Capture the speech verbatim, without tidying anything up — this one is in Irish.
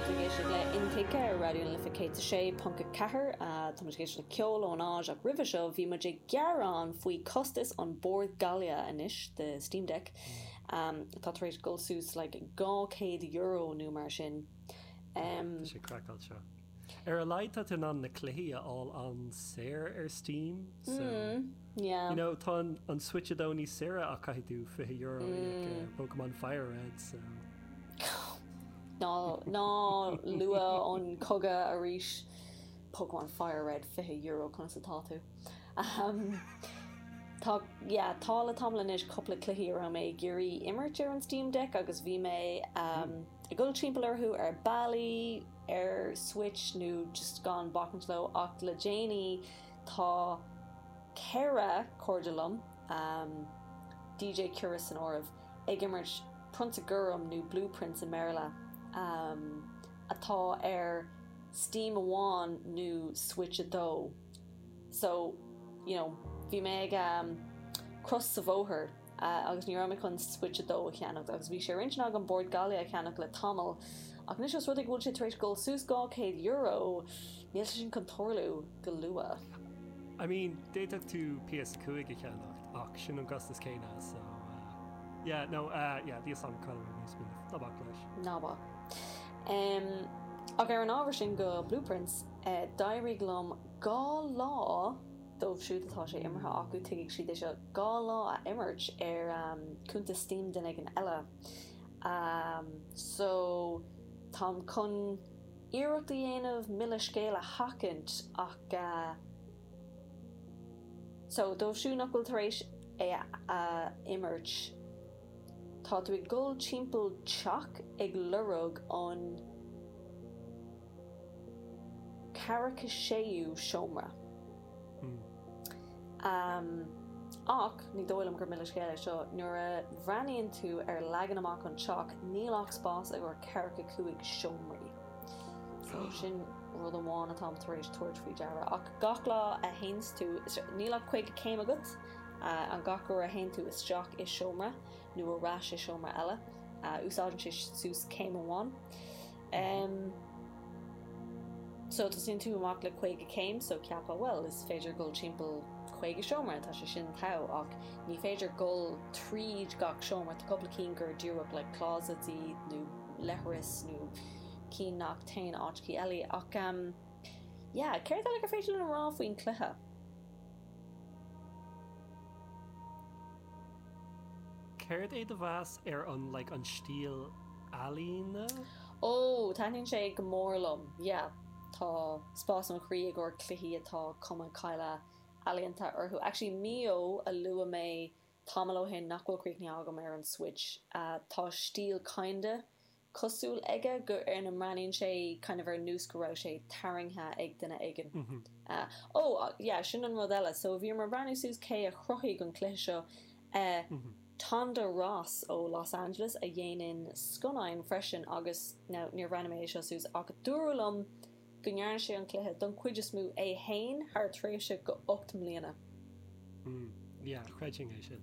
Tá tú ag éisteacht le Intuigthe ar Raidió na Life céad a sé ponc a ceathair. Tá muid ag éisteacht le ceol ón Áis ach roimhe seo bhí muid ag gearán faoi costas an bord gaile anois the Steam Deck um, atá tar éis dul suas like dhá chéad euro nó mar sin. Um, Tá sé craiceáilte. Ar a laghad tá tú in ann na cluichí a fháil an-saor ar Steam so mm, yeah. You know, tá an, an Switch a dó níos saoire ach caithfidh tú fiche euro a íoc ar Pokemon Fire Red so ná ná lua an cogadh arís Pokemon Fire Red fiche euro conas atá tú. Um, Tá yeah, tá le tamall anois cúpla cluichí a raibh mé ag iarraidh imirt ar an Steam Deck agus bhí mé um, ag dul timpeall orthu ar bealaí ar Switch nó just gan bacaint leo ach le déanaí tá ceithre cairde liom um, DJ Cura san áireamh ag imirt Prionsa Gorm nó Blue Prince i mBéarla um, atá ar Steam amháin nó Switch a dó. So, you know, bhí mé ag um, cros sa bhóthar uh, agus ní raibh mé chun Switch a dó a cheannach agus bhí sé ar intinn agam bord gaile a cheannach le tamall ach anois os rud é go bhfuil sé tar éis dul suas dhá chéad euro níl sé sin chun tarlú go luath. I mean, d'fhéadfadh tú PS cúig a cheannacht ach sin an costas céanna so uh, yeah, no, uh, yeah, bhí an cad ná bac leis. Ná bac. Um, ach ar an ábhar sin go Blue Prince, uh, d'éirigh liom dhá lá dóibh siúd atá sé imeartha acu tuigfidh siad é seo dhá lá a imirt ar um, cuntas Steam duine éigin eile. Um, so táim chun iarracht a dhéanamh milleadh scéil a sheachaint ach uh, so dóibh siúd nach bhfuil tar éis é a imirt tá tú ag dul timpeall teach ag lorg an ceathracha séú seomra. Mm. Um, ach ní dóigh liom gur milleadh scéil é seo nuair a bhreathnaíonn tú ar leagan amach an teach níl ach spás ag ceathracha cúig seomraí. So sin rud amháin atá tar éis tabhairt faoi deara ach gach lá a théann tú níl ach caoga céim agat uh, an gach uair a théann tú isteach i seomra nó ar ais i seomra eile uh, úsáideann sé suas céim amháin. Um, so tosaíonn tú amach le caoga céim so ceapann well is féidir dul timpeall caoga seomra tá sé sin togha ach ní féidir dul tríd gach seomra tá cúpla cinn gur díreach le closets iad nó leithris nó cinn nach téann áiteachaí eile ach um, yeah, céard eile gur féidir linn a rá faoin cluiche. Céard é do mheas ar an like, an stíl ealaíne? Ó taitníonn sé go mór liom, yeah. Tá spás an chroí i gcomhair cluichí atá cuma caile ealaíonta orthu. Actually Mio a luaigh mé tamall ó shin nach bhfuil críochnaithe agam ar an Switch. Uh, tá stíl kinda cosúil aige go ar na mbreathnaíonn sé kind of ar nós go raibh sé tarraingthe ag duine éigin. Mm -hmm. Uh, oh, uh, yeah, sin an rud eile. So bhí mé ag breathnú suas cé a chruthaigh an cluiche seo. Uh, Mm -hmm. Tonda Ross ó Los Angeles a dhéanann scannáin freisin agus now, níor bhreathnaigh mé seo suas ach dúradh liom go ndearna sé an cluiche don chuid is mó é féin thar tréimhse go ocht mbliana. Mm. Yeah, chreidfinn é sin.